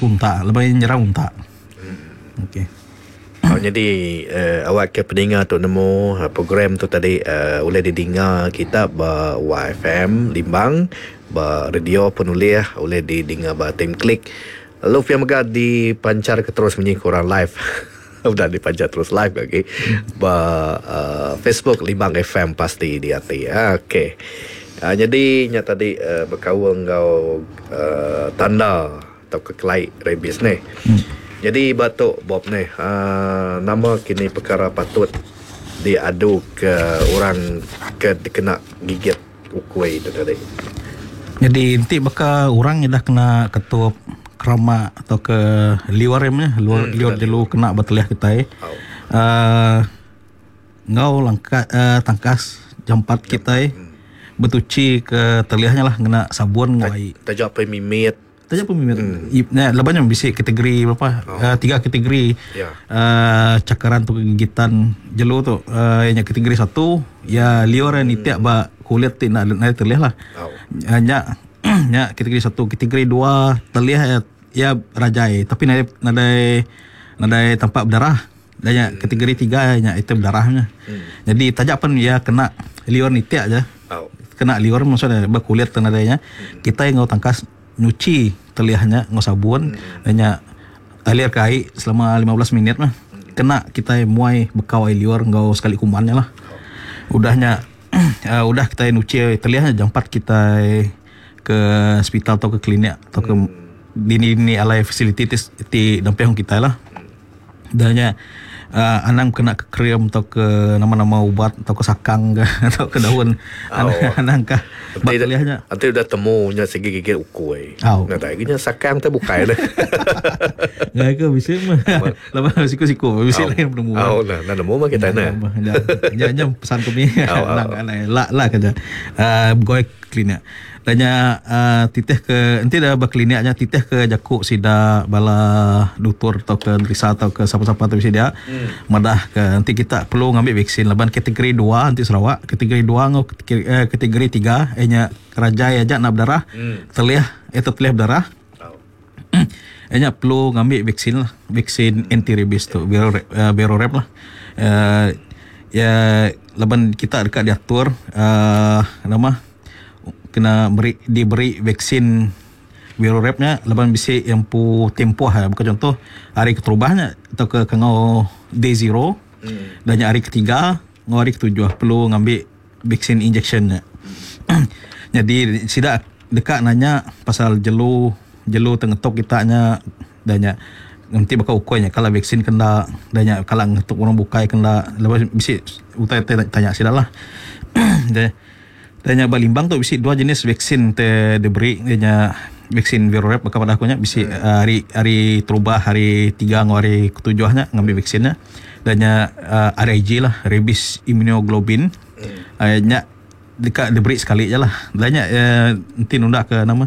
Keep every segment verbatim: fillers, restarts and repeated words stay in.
ke untak, lebih nyerang untak. Hmm. Okey. Oh, jadi uh, awak ke peninga tu nemu uh, program tu tadi uh, oleh didinga kita ba Y F M Limbang, ba radio penulis oleh didinga ba Team Klik. Lalu pia mega dipancar ke terus bunyi kurang live. Udah dipancar terus live lagi ba uh, Facebook Limbang F M pasti di hati. Okey. Uh, jadi nya tadi uh, berkaul ngau uh, tanda atau kekelai rabies ni. Hmm. Jadi batuk Bob ni uh, nama kini perkara patut diadu ke orang ke kena gigit ukui itu tadi. Jadi nanti bakal orang yang dah kena ketup keramak atau ke liur ni, liur, hmm, liur jelu kena berteliah kita. Oh. Uh, ngau langkat uh, tangkas jampat kita hmm. bertuci ke teliahnya lah kena sabun ngau. Tajak pemimit. Tajak pemimit. Hmm. Nah, lebihnya bisa kategori berapa? Oh. Uh, tiga kategori. Yeah. Uh, cakaran tu gigitan jelu tu. Uh, yang kategori satu ya liur yang nitiak ba kulit ti nak nak teliah lah. Oh. Uh, nya nya kategori satu, kategori dua teliah ya, ya rajai tapi nadai nadai nadai tampak berdarah. Dan ya, hmm. kategori tiga nya itu berdarahnya. Hmm. Jadi tajak pun ya kena liur nitiak aja. Oh. Kena liur maksudnya berkulit nadainya. Hmm. Kita yang ngau tangkas nyuci teliahnya ngau sabun hmm. dan nya alir ke air selama lima belas minit mah. Hmm. Kena kita muai bekau air liur ngau sekali kumannya lah. Oh. Udahnya uh, udah kita nyuci teliahnya jampat kita ke hospital atau ke klinik atau ke hmm. dini-dini alai facility ti damping kita lah. Dahnya uh, anang kena ke krem atau ke nama-nama ubat atau ke sakang ke atau ke daun. Oh. Anang kah bateliahnya. Nanti udah temunya segi gigit ukui. Oh. Nah, tak gini sakang tu bukai dah. Ngai ke bisa mah. Lama siku-siku bisa lain nemu. Oh, nah, nah nemu mah kita nah. Ya jam pesan kami. Anang anang la la kerja. Uh, goi klinik. Tanya uh, titih ke nanti dah berkliniknya titih ke jakuk sida bala doktor atau ke Risa atau ke siapa-siapa tu dia hmm. madah ke nanti kita perlu ngambil vaksin laban kategori dua nanti Sarawak kategori dua ngau kategori, eh, kategori tiga nya kerajai aja nak berdarah hmm. teliah itu teliah berdarah oh. Nya perlu ngambil vaksin lah vaksin hmm. anti rabies tu Vero uh, Verorab lah uh, ya laban kita dekat diatur uh, nama kena beri, diberi vaksin Verorabnya laban bisi yang pu tempoh ha. Bukan contoh hari keterubahnya atau ke kengau day zero hmm. dan hari ketiga ngau hari ketujuh perlu ngambil vaksin injectionnya. Hmm. Jadi sidak dekat nanya pasal jelu jelu tengetok kitanya danya nanti bakal ukurnya kalau vaksin kena danya kalau ngetok orang bukai kena lepas bisi utai tanya sidak lah. Dan yang Balimbang tu bisi dua jenis vaksin te diberi dia vaksin Verorab kepada aku nya bisi hmm. hari hari terubah hari tiga ngau hari ketujuhnya ngambil vaksinnya dan nya uh, R I G lah rabies immunoglobulin hmm. uh, nya dekat diberi sekali je lah dan nya uh, nanti nunda ke nama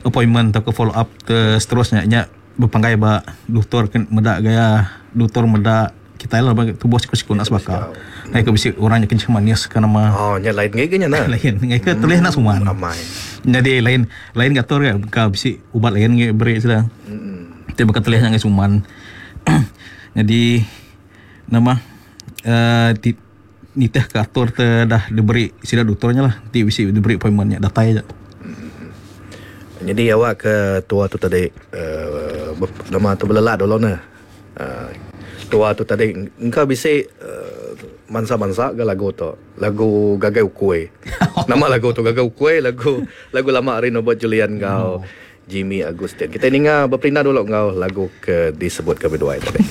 appointment atau ke follow up ke seterusnya nya berpanggai ba doktor medak gaya doktor medak kita lah tubuh siku-siku nak sebaka. Nah, ke bisi orangnya kencing manis ke nama. Oh, nya lain ngai nya nah. Lain ngai ke tulis nak semua. Ramai. Jadi lain lain gator ya ka bisi ubat lain ngai beri sudah. Heeh. Te bakal tulis ngai suman. Jadi nama eh uh, niteh ke atur te dah diberi sida doktornya lah. Ti bisi diberi appointmentnya datai aja. Jadi awak ke tua tu tadi uh, nama tu belelak dulu nah. Uh, tua tu tadi engkau bisa uh, mansa-mansa ke lagu tu lagu Gagai Ukui. Nama lagu tu Gagai Ukui, lagu lagu lama hari Norbert Julian ngau oh. Jimmy Agustin. Kita ninga berperindah dulu ngau lagu ke disebut ke berdua tadi.